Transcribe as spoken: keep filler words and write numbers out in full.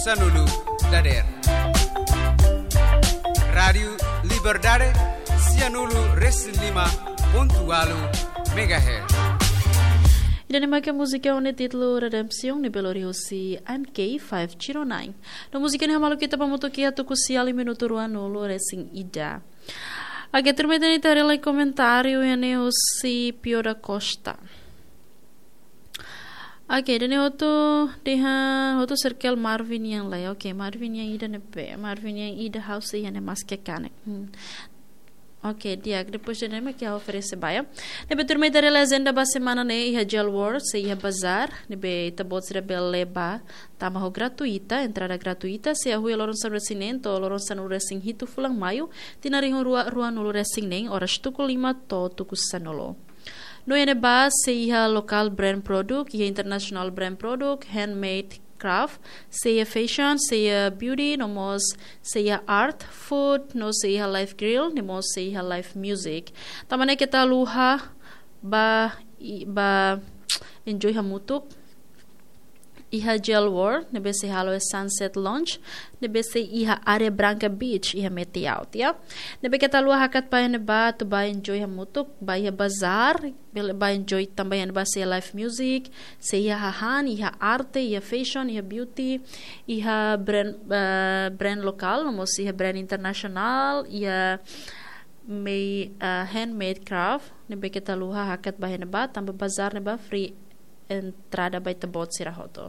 Sanulu dader. Rádiu Liberdade, sianulu resin lima pontu walu megahertz. Ida-ne'e mak múzika ho títulu Redemption, ne'ebé lori husi M K five zero nine. No múzika ne'e hamaluk ita ba hamutuk iha tuku sia liu minutu ruanulu resin ida. Oke, tuirmai ita haree lai komentáriu iha ne'e husi Pio da Costa. Oke, ida-ne'e hotu dehan, hotu circle Marvin nian lai. Oke, Marvin nian ida ne'ebé, Marvin nian ida ha'u sei iha ne'e maske kanek. Hmm. Oke, di'ak, depois ida-ne'e mak ha'u oferese ba iha. Ne'ebé tuirmai ita haree lai ajenda ba semana ne'e iha Jail World, sei iha bazár, ne'ebé ita-boot sira bele bá, tanba ho gratuita, entrada gratuita, sei hahú iha loron sanulu resin neen to'o loron sanulu resin hitu fulan Maiu, tinan rihun rua ruanulu resin neen, oras tuku lima to'o tuku sanulu. No iha ne'ebá sei iha local brand product, iha international brand product, handmade craft, sei iha fashion, sei iha beauty, no mós sei iha art, food, no sei iha live grill, no mós sei iha live music. Tanba ne'e keta haluha bá, i-, bá enjoy hamutuk iha Jail World, ne'ebé sei halo iha Sunset Lounge, ne'ebé sei iha área Branca Beach, iha Metiaut, ya. Ne'ebé keta haluha hakat bá iha ne'ebá atu bá enjoy hamutuk, bá iha bazár, bele bá enjoy tanba iha ne'ebá sei iha live music, sei iha hahán, iha arte, iha fashion, iha beauty, iha brand, eh, brand lokál, no mós iha brand internasionál, iha mei, eh, handmade craft, ne'ebé keta haluha hakat bá iha ne'ebá, tanba bazár ne'ebá free entrada ba ita-boot sira hotu.